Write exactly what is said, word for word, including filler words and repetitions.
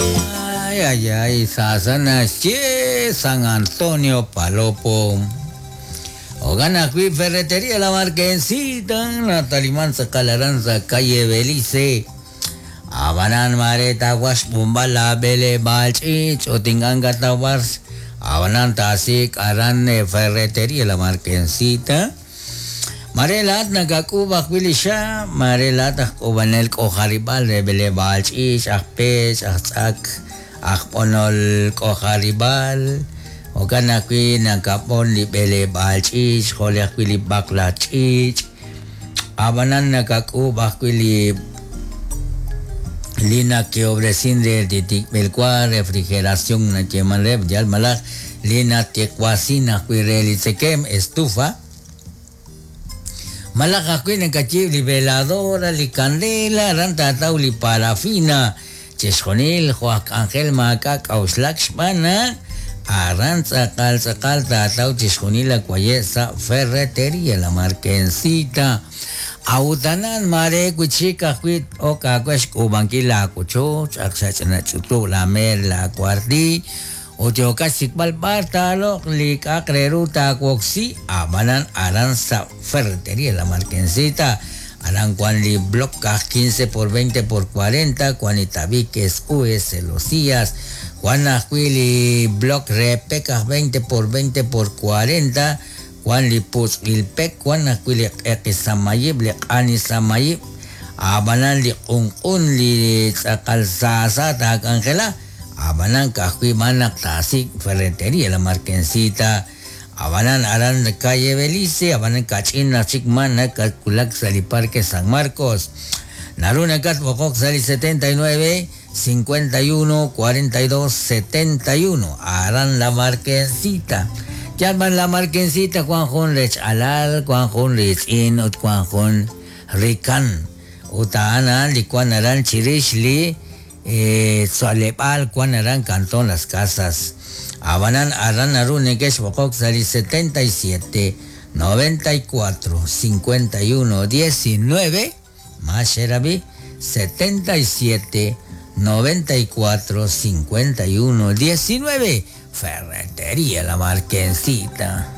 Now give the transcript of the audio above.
Ay, ay, ay, Sasanache, San Antonio Palopo. Ogana Cui Ferretería La Marquesita, Natalimanza Calaranza, calle Belice. Abanan Mareta Was Bumbala Bele Balchich, Otinganga Tawars, Abanan Tasik, Aran Ferretería La Marquesita. Marelat nagakubak wilisha, marelat akubanel kojaribal rebele balchich, akpech, akzak, akponol kojaribal. Okanakwi nakapon libele balchich, joleakwili baklachich. Abanan nakakubak wili lina que obrecin de titikmelkua refrigeración na chemaleb yalmalaj lina tecuacina cuirelitzekem estufa. Malaj ajwi nakachib li veladora li candela ranta taw li parafina chexjonil Juan Ángel Maca kauxlak xbana aran tzakal tzakal tataw chexjonil akuayesa ferretería La Marquesita. Autanan mare kuchika kuit oka kuesh kubankila kucho chakshachna chutu la mer la cuarti ochoka sikbal bartalo lik akreruta kuoxi abanan aranza ferretería La Marquesita. Aran cuan li block quince por veinte por cuarenta cuan itabiques U S Locías Juan Ajuili block repeca veinte por veinte por cuarenta Juan li pus ilpek Juan Ajuili eqisamayib li qanisamayib abanan li qunqun li tz'aqalsasa tak Angela abanan kajui manak tasik ferretería La Marquesita. Abanan aran calle Belice, abanan kachina chikmana kalkulak sali Parque San Marcos. Naruna kat bokok sali setenta y nueve cincuenta y uno cuarenta y dos setenta y uno. Aran La Marquesita. Llaman La Marquesita Juan Jun Rech Alal, Juan Jun Rich In, Juan Jun Rican. Utaana Licuan Aran Chirishli, eh, Tzolepal, Juan Aran Cantón Las Casas. Abanan Aran Arune Bokok sali setenta y siete noventa y cuatro cincuenta y uno diecinueve Masherabi setenta y siete noventa y cuatro cincuenta y uno diecinueve Ferretería La Marquesita.